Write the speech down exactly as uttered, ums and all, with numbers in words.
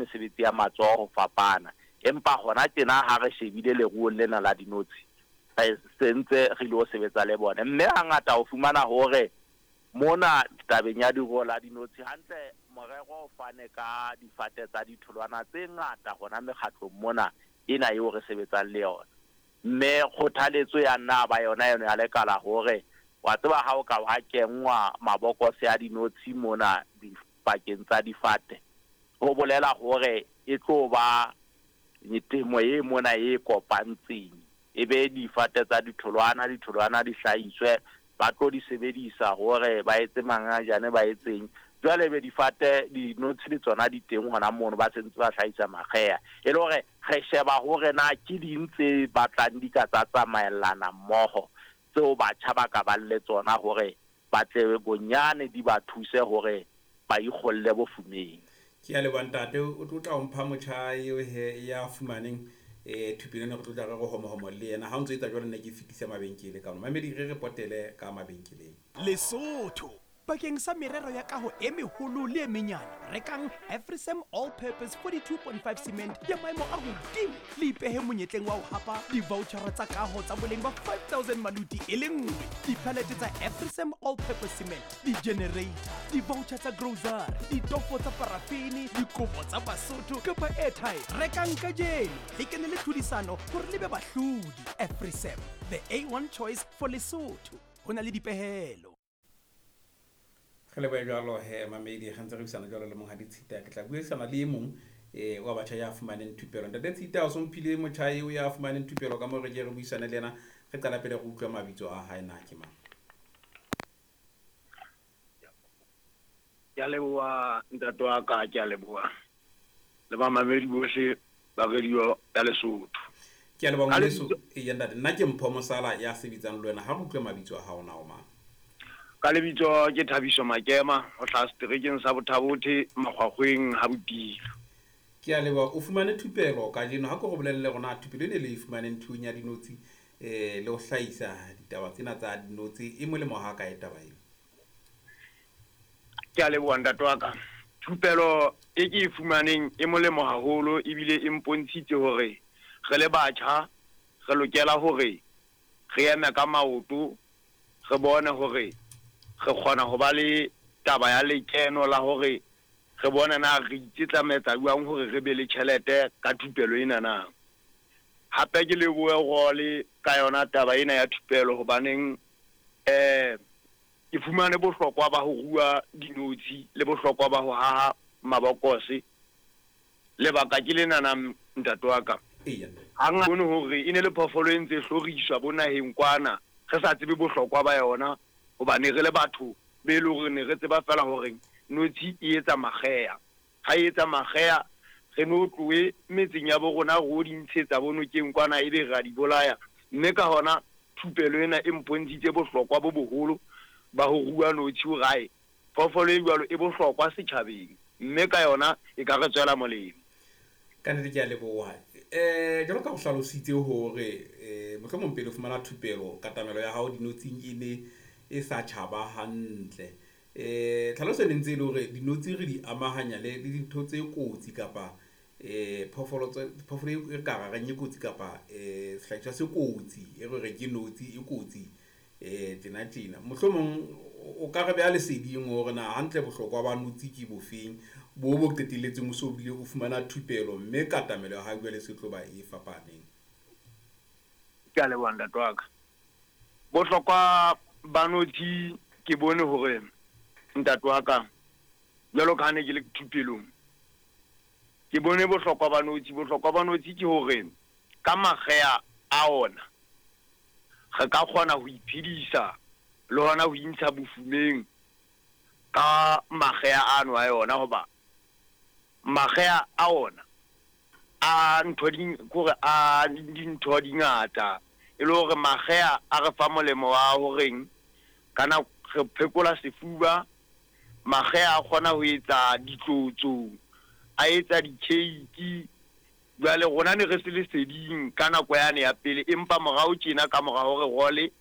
mesebetsi ya matsoho ho fapana. Empa hona tjena ha re shebile leruo lena la dinotshi, re sentse re ilo sebetsa le bona. Mme hangata o fumana hore mona tabeng ya leruo la dinotshi hantle morero o fane ka difate tsa ditholwana tse ngata hona mekgatlong mona ena eo re sebetsang le yona. Mme kgothaletso ya nna ba yona yona ya lekala hore wa tseba ha o ka wa kenngwa mabokose a dinotshi mona dipakeng tsa difate, ho bolela hore e tlo ba temo e mona e kopantseng, e be difate tsa ditholwana, ditholwana di hlahiswe, ba tlo di sebedisa hore ba etse mangajane, ba etseng. Jwale be difate dinotshi le tsona di teng hona mono, ba sentse ba hlahisa makgeha. E le hore re sheba hore na ke ding tse batlang di ka tsa tsamaellana mmoho tseo batjha ba ka bang le tsona hore ba tle bonyane di ba thuse hore ba ikgolle bofumeng. Ke a leboha ntate, o tlo tla o mpha motjha eo he ya fumaneng eh thupelo ena, re tlo tla re re homohomo le yena. Ha o ntso etsa jwalo, nna ke fetisa mabenkele ka mamedi, re re potele ka mabenkeleng. Lesotho bakeng sa merero ya kaho e meholo le e menyane, rekang Afrisam All Purpose forty-two point five cement ya maemo a hodimo, le ipehe monyetleng wa ho hapa di-vouchera tsa kaho tsa boleng ba five thousand maluti e le nngwe, di-pallet tsa Afrisam All Purpose cement, di-generator, di-voucher tsa grocery, ditofo tsa parafini, dikobo tsa Basotho kapa airtime. Rekang kajeno le kene le tlhodisano hore le be bahlodi. Afrisam, the A one choice for Lesotho. Ho na le dipehelo. Re lebohe jwalo he mamedi, re ntse re buisana jwalo le monghadi Tshita. Ke tla buisana le e mong eh wa batjha ya fumaneng thupelo. Ntate Tshita, o so mphile motjha eo ya fumaneng thupelo ka mo re ke re buisane le yena. Re qala pele re utlwe mabitso a hae na ke mang. Ke a leboha ntate wa ka, ke a leboha le bamamedi bohle ba radio ya Lesotho. Ke a leboha ngwaneso. Eya ntate, nna ke Mpho Mosala ya sebetsang le wena. Ha re utlwe mabitso a hao na o mang? Ka lebitso ke Thabiso Makema, ho hlaha seterekeng sa Bothabothe, Makgwakgweng ha Botilo. Ke a leboha. O fumane thupelo kajeno, ha ke go bolelle rona thupelo ene le e fumaneng thuong ya dinotshi eh le ho hlahisa ditaba tsena tsa dinotshi, e molemo ha kae taba eo? Ke a leboha ntate wa ka. Thupelo e ke e fumaneng e molemo haholo, ebile e mpontshitse hore re le batjha re lokela hore re eme ka maoto, re bone hore re kgona ho ba le taba ya lekeno la hore re bone na re itsetlametsa jwang hore re be le tjhelete ka thupelo ena na. Hape ke lebohe role ka yona taba ena ya thupelo, hobaneng eh ke fumane bohlokwa ba ho rua dinotshi le bohlokwa ba ho haha mabokose. Lebaka ke lena na ntate wa ka. Hang bone hore e ne le phoofolo e ntse hloriswa bo naheng kwana, re sa tsebe bohlokwa ba yona, hobane re le batho be le hore ne re tseba fela hore notshi e etsa makgeha. Ha e etsa makgeha, re no tlohe metseng ya bo rona re o di ntshetsa bo nokeng kwana, ebe re a di bolaya. Mme ka hona thupelo ena e mpontshitse bohlokwa bo boholo ba ho rua notshi hore ae phoofolo e jwalo e bohlokwa setjhabeng, mme ka yona e ka re tswela molemo. Ka nnete ke a leboha. Eh jwalo ka o hlalositse hore eh mohlomong pele o fumana thupelo, katamelo ya hao dinotshing e ne e sa tjhaba hantle. Eh tlhaloso e ne ntse e le hore dinotshi re di amahanya le le dintho tse kotsi kapa eh phoofolo tse phoofolo e ka reng e kotsi kapa eh sehlahiswa se kotsi, e re re ke notshi e kotsi eh tjena tjena. Mohlomong o ka re beha leseding hore na hantle bohlokwa ba notshi ke bofeng bo bo qetelletseng o so bile o fumana thupelo, mme katamelo ya hao jwale se tlo ba e fapaneng. Ke a leboha ntate wa ka. Bohlokwa ba notshi ke bone hore ntate wa ka, jwalo ka ha ne ke le thupelong, ke bone bohlokwa ba notshi. Bohlokwa ba notshi ke hore ka makgeha a ona re ka kgona ho iphedisa le hona ho intsha bofumeng ka makgeha ano a yona, hoba makgeha a ona a ntho di kore a dintho di ngata, e le hore makgeha a re fa molemo wa horeng kana re phekola sefuba. Makgeha a kgona ho etsa ditlotso, a etsa di-cake. Jwale rona ne re se leseding ka nako yane ya pele, empa morao tjena ka mora hore role